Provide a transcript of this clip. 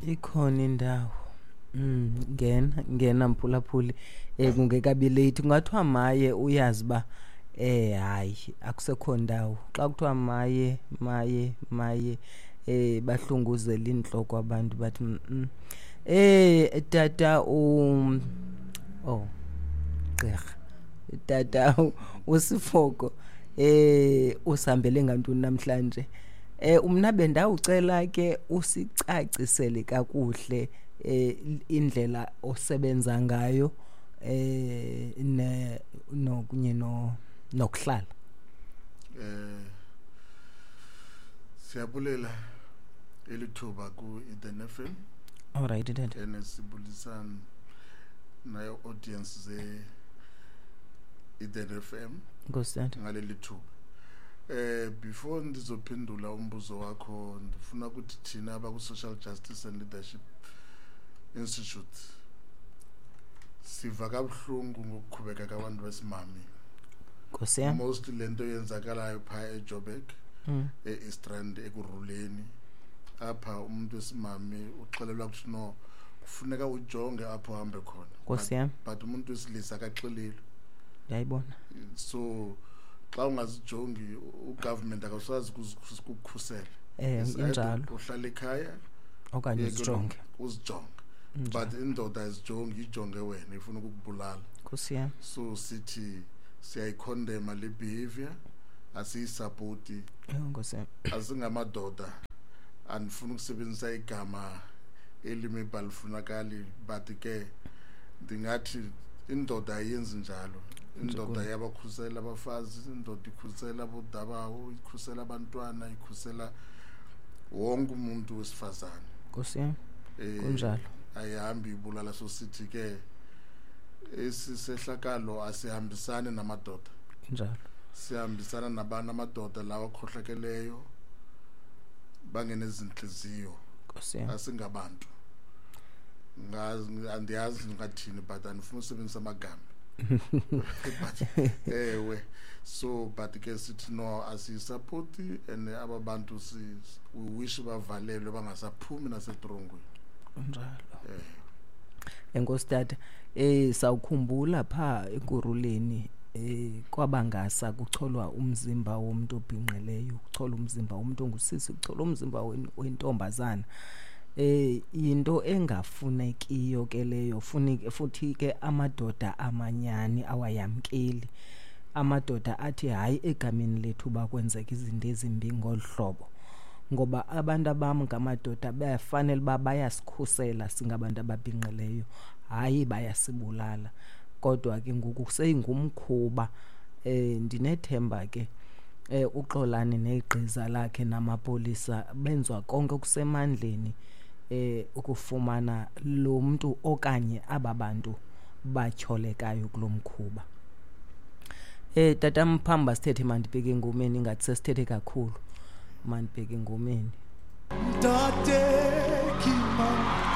Ikhona indawo. Ngena ngena mphulaphuli, kungekabi late. Kungathiwa maye uyazi uba hayi, akusekho ndawo. Xa kuthiwa maye maye maye, bahlunguzela intloko abantu bathi tata oh gqirha, tata uSifoko, usihambele ngantoni namhlanje? Umna bendawucela ke usicacisele kakuhle indlela osebenza ngayo ne nokunye no nokuhlala. Siyabulela elithuba ku Eden FM. All right, tata. Enesibulisana nayo audience ze Eden FM. Nkosi tata. Ngaleli thuba. Before ndizophendula umbuzo wakho, ndifuna ukuthi thina abaku Social Justice and Leadership Institute siva kabuhlungu ngokuqhubeka kwabantu besimame. Nkosi yam. Mostly lento yenzakalayo pha eJoburg, e-East Rand, Ekurhuleni. Apha umuntu wesimame uxelelwa ukuthi no, kufuneka ujonge apho uhambe khona. Nkosi yam. But umuntu wesilisa akaxelelwa. Ndiyayibona. So xa ungazijongi, ugovernment akaswazi ukukukhusela. It's either Injalo. uhlala ekhaya okanye uyeke uzijonge. Uzijonge. But indoda ayizijongi, ijonge wena, ifuna ukukubulala. Nkosi yam. So sithi siyayicondemna le behavior, asiyisupporti. Nkosi yam. Asingamadoda, andifuni ukusebenzisa igama elimi balifunakali, but ke ndingathi indoda ayenzi njalo. Indoda iyabakhusela abafazi, indoda ikhusela abodabawo, ikhusela abantwana, ikhusela wonke umuntu wesifazane. Nkosi yam. Kunjalo. Ayihambi ibulala. So sithi ke esisehlakalo asihambisani namadoda. Njalo. Sihambisana nabantu amadoda lawa akhohlakeleyo, bangenezinhliziyo. Nkosi yam. Asingabantu. Ngazi, andiyazi ngathini, but andifuni usebenzisa amagama. But ewe, so but ke sithi no, asiyisupporti, and aba bantu we wish bavalelwe bangasaphumi nasetrongweni. Kunjalo. Enkosi tata. Sawukhumbula pha Ekurhuleni, kwabangasa kucholwa umzimba womuntu obhinqileyo, kucholwa umzimba womuntu ongusisi, kucholwa umzimba wentombazana. Into engafunekiyo ke leyo, funike futhi ke amadoda amanyani awayamkeli. Amadoda athi hayi, egameni lethu bakwenzeka izinto ezimbi ngolu hlobo, ngoba abantu abam ngamadoda bayafanele uba bayasikhusela singabantu ababhinqileyo, hayi bayasibulala. Kodwa ke ngoku seyingumkhuba. Ndinethemba ke uXolani negqiza lakhe namapolisa benziwa konke okusemandleni ukufumana lo mntu okanye aba bantu batyholekayo kulo mkhuba. Tata Mphamba, sithethe, mandibheke engomeni, ingathi sesithethe kakhulu. Mandibheke engomeni. Ntate Kima.